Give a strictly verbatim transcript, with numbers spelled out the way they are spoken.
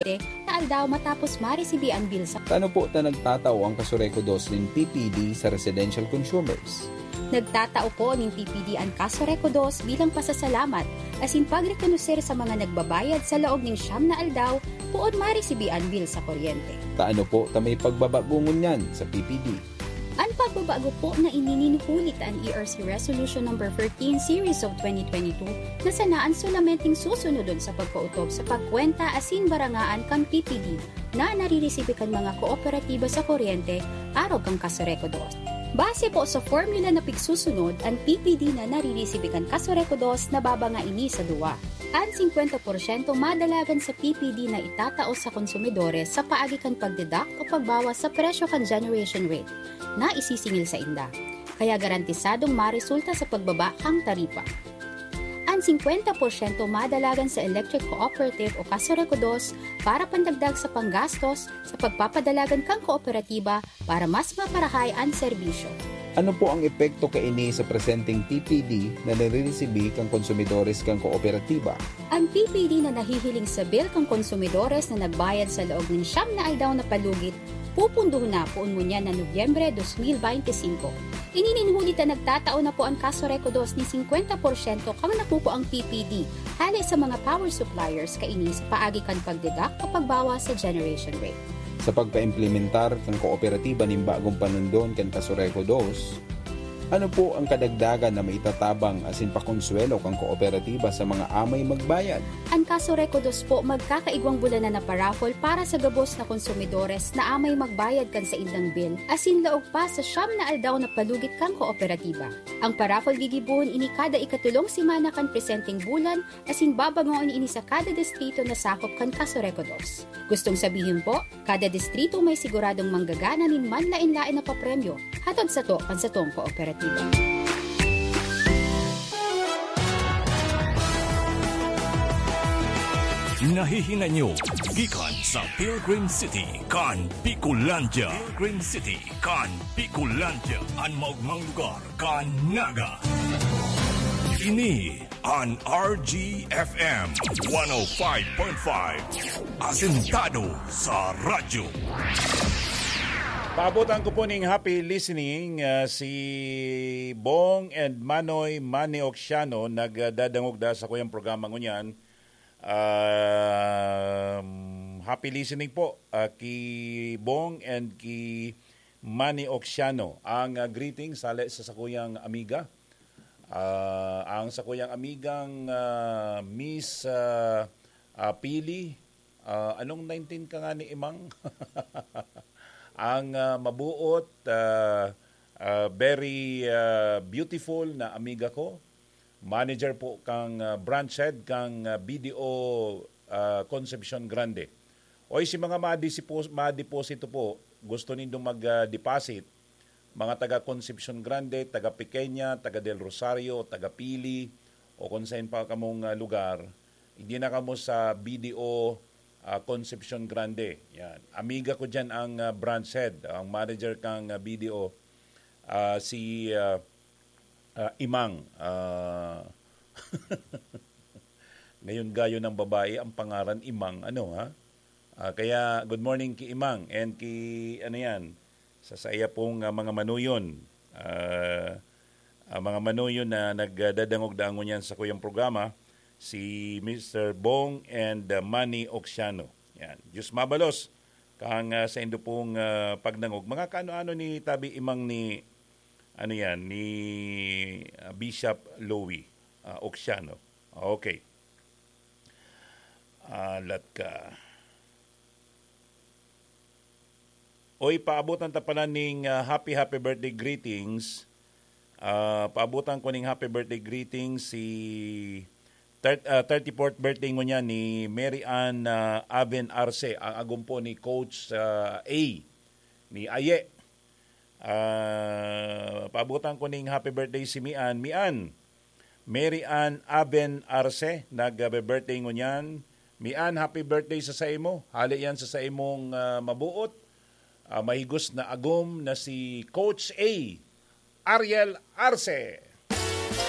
na aldaw matapos maresibi an bill sa Tano po ta nagtatao ang Kasureco dos nin P P D sa residential consumers. Nagtatao po nin P P D an Kasureco dos bilang pasasalamat asin pagrekonoser sa mga nagbabayad sa laog nin siyam na aldaw poon maresibi an bill sa kuryente. Tano po ta may pagbabago ngunyan sa P P D. An pagbabago po na ini nin huli ta an E R C Resolution Number thirteen Series of twenty twenty-two na sana an solamenteng susunodon sa pagkaotob sa pagkwenta asin barangaan kan P P D na nariresibi kan mga kooperatiba sa kuryente arog kan Kasureco dos. Base po sa formula na pigsusunod, an P P D na nariresibi kan Kasureco dos nababanga ini sa duwa. An singkwenta porsyento madalagan sa P P D na itatao sa konsumidores sa paagi kan pagdeduct o pagbawas sa presyo kan generation rate na isisingil sainda, kaya garantisadong maresulta sa pagbaba kan taripa. An singkwenta porsyento madalagan sa electric cooperative o Kasureco dos para pandagdag sa panggastos sa pagpapadalagan kan kooperatiba para mas maparahay an serbisyo. Ano po ang epekto kaini sa presenteng P P D na nariresibi kan konsumidores kan kooperatiba? An P P D na nahihiling sa bill kan konsumidores na nagbayad sa laog nin siyam na aldaw na palugit, pupundohon na poon ngunyan na Nobyembre dos mil beinti singko. Ini nin huli ta nagtatao na po an Kasureco dos ni singkwenta porsyento kan nakukuang P P D hale sa mga power suppliers kaini sa paagi kan pagdeduct o pagbawas sa generation rate. Sa pagpaimplementar kan kooperatiba nin bagong panundon kan Kasureco dos, ano po ang kadagdagan na maitatabang asin pakonsuwelo kan kooperatiba sa mga amay magbayad? An Kasureco dos po magkakaigwang bulanan na paraffle para sa gabos na konsumidores na amay magbayad kan saindang bill asin laog pa sa siyam na aldaw na palugit kan kooperatiba. Ang paraffle gigibohon ini kada ikatulong semana kan presenteng bulan asin babangoon ini sa kada distrito na sakop kan Kasureco dos. Gustong sabihin po, kada distrito may siguradong manggagana nin manlaen-laen na papremyo hatod sato kan satong kooperatiba. Nahihinanyo gikan sa Pilgrim City kan Bicolandia. Pilgrim City kan Bicolandia, an maogmang lugar kan Naga. Ini an R G F M one oh five point five. Asentado sa radyo. Paabotan ko po ning happy listening, ah, si Bong and Manoy Manny Oxiano, nagdadangog da sa kuyang programa ngunyan. Um, happy listening po, ah, ki Bong and ki Manny Oxiano. Ang, ah, greetings hale sa sakuyang amiga. Ah, ang sakuyang amigang, ah, Miss, ah, ah, Pili. Ah, anong nineteen ka nga ni Imang? Ang, ah, mabuot, ah, ah, very, ah, beautiful na amiga ko. Manager po kang, ah, branch head kang, ah, B D O, ah, Concepcion Grande. Oy, si mga madisipo-, madeposito po, gusto nindong mag, ah, deposit, mga taga Concepcion Grande, taga Pequeña, taga Del Rosario, taga Pili, o kung saan pa kamong, ah, lugar, hindi na kamo sa B D O, ah, Concepcion Grande. Yan. Amiga ko dyan ang, ah, branch head, ang manager kang, ah, B D O, ah, si, ah, ah, Imang. Ah, ngayon gayo ng babae ang pangaran Imang, ano, ha? Ah, kaya good morning ki Imang and ki, ano yan, sa saiya pong, ah, mga manuyon. Ah, ah, mga manuyon na nagdadangog-dangon yan sa kuyang programa, si Mister Bong and, ah, Manny Oxiano. Yan. Diyos mabalos kang, ah, sa indo pong, ah, pagdangog. Mga kaano-ano ni Tabi Imang ni, ano yan, ni, ah, Bishop Louie, ah, Oxiano. Okay. Alat ka. Oy, paabotan ta pala ning, ah, happy, happy birthday greetings. Ah, paabotan ko ning happy birthday greetings si thir-, ah, thirty-fourth birthday ngunyan ni Mary Ann, ah, Aven Arce, ang agom po ni Coach, ah, A, ni Aye. Ah, paabotan ko ning happy birthday si Mian. Mian, Mary Ann Aben Arce, nag-birthday ngunyan. Mian, happy birthday sa saimo. Hale yan sa saimong, ah, mabuot, ah, mahigos na agom na si Coach A, Ariel Arce.